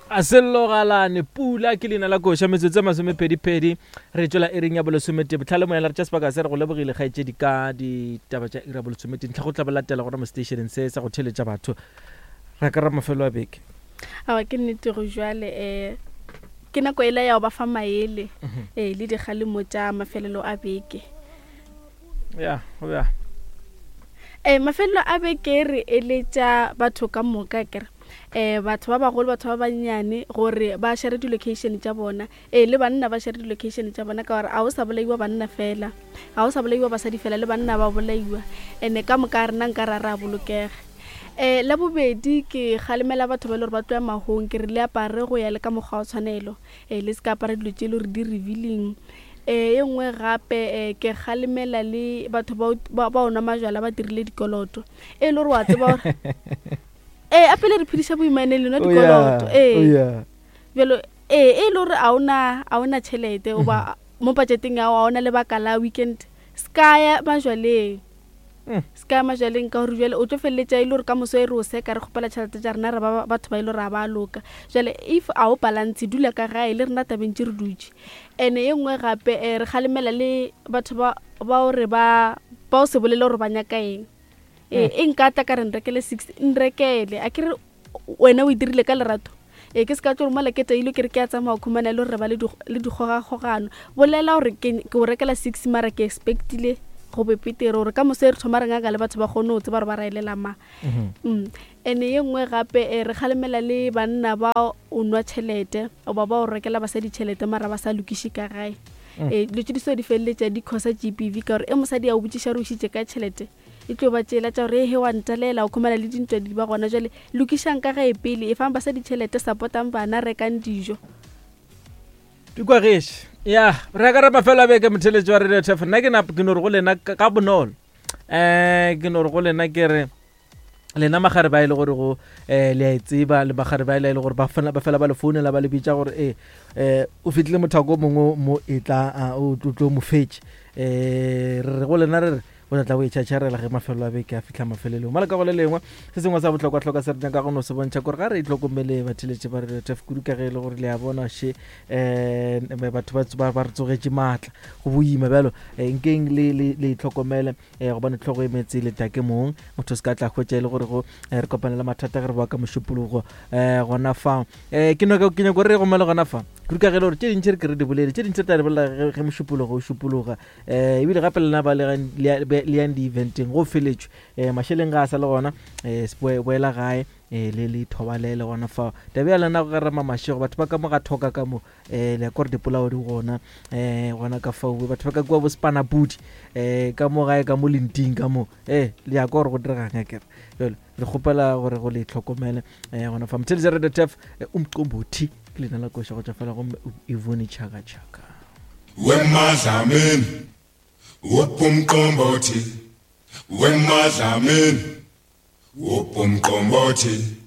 A sellogalane pula ke leina la koša metsotso e masomepedipedi re tšwela iring ya bolesomete botlhale moyala re tša sebaka se re go lebogile kgaetšedi ka ditaba tša iri ya bolesomete ntlha go tla ba latela gona mo stationeng se sa go theletša batho ra ka ra mafelo a beke Aowa ke nnete go jwale um ke nako ela ya go ba fa maele ee le dikgalemo tša mafelelo a beke. Ya go bjang? Ee mafelelo a beke re eletša batho ka moka kere um batho ba bagolo batho ba bannyane gore ba share di-location tša bona ee le banna ba share di-location tša bona ka gore ga o sa bolaiwa banna fela ga o sa bolaiwa basadi fela le banna ba bolaiwa and-e ka moka rena nka ra re a bolokega. Um la bobedi ke kgalemela batho ba e le gore ba tloya mahong ke re le apare go ya le ka mokgwa wa tshwanelo um le se ka apara dilo tše e le gore di revealing. Um ye nngwe gape um ke kgalemela le batho ba o nwa majwala ba dirile dikoloto e le gore wa tseba gore ee a pele re phediša boimane le nwa Oh, dikoloto yeah. ee Oh, yeah. bjalo ee e le gore a ona a ona tšhelete oba mo budgeteng ya gago a ona lebaka la weekend se ka ya majwaleng Se ka ya majwaleng ka gore bjale o tlo feleletša e le gore ka moso e re o seka re kgopela tšhelete tša rena re ba batho ba e le gore ga ba loka. Bjale if a o balance dula ka gae le rena tabeng tše re dutše. And-e ye nngwe gape um re kgalemela le batho ba ba gore ba ba o se bolele gore ba nyaka eng. Ee e nka tla ka re nrekele six nrekele a ke re wena o e dirile ka lerato ee ke se ka tlo mola ke tailwe ke re ke a tsamaya khumana le gore re ba le dikgogakgogano bolela gore ke o rekela six mara ke expectile go be petere gore ka moso e re thoma re ngaka le batho ba kgone go tseba gore ba raelela mang mm. And ye nngwe gape eh, re kgalemela le banna ba o nwa tšhelete oba ba o rekela basadi tšhelete mara ba sa lokiše ka gae mm. Eh, dilo tse di so di feleletša di causa g p v ka gore e mosadi a o botšiša gore o išitše ka tšhelete E tlo ba tšela tša gore he wa ntalela o khumana le dintwa di ba gona jwale lokišang ka gae pele efang basadi tšhelete supportang bana rekang dijo. Di kwa gešo ya re ka re mafelo a beke motheletši wa radio tf nna ke nap ke no re go lena ka bonolo um ke no re go lena ke re lena magare ba e le gore go um le a e tseba le magare ba e le gore ba fela ba fela ba le founela ba le bitša gore ee um o fitlhile mothako o mongwe mo e tla o tlo mo fetše um re re go lena re re O tla tla o e tšhatšharela ge mafelo a beke a fihla mafelelong. Mola ka go le lengwe, se sengwe sa bohlokwa-hlokwa se re nyaka go no se bontšha kore ga re itlhokomele batheeletši ba Radio Turf kudu ka ge e le gore le a bona še um batho ba, ba, ba re tsogetše maatla go boima bjalo eh, nkeng le, le, le itlhokomele eh, gobane tlhogo e metse le take mong motho se ka tla hwetša e le gore go eh, re kopane le mathata ge re boa ka mošupologo eh, gona fa eh, ke nyaka ke nyaka gore re gomele gona fa kudu ka ge e le gore tše dintši re ke re di bolele tše dintši re tla di bolela ge ge mošupologo o šupologa um ebile gape lena ba le yang di-eventeng go feletšwe um mašeleng ga a sa le gona um boela gae um le le thobalele gona fao tabe ya lena go rema mašego batho ba ka mo ga thoka ka mo um le ya kore dipolao di gona um gona ka fao batho ba ka kua bo sepanapudi um ka mo gae ka mo lenting ka mo ee le ya kwa gore go diregang akere jale re kgopela gore go le tlhokomele um gona fa motheletša radio tef umqombothi ke leina la koša go tšwa fela gomme ivone chaka chaka Wemadlamini upumqombothi wemadlamini upumqombothi.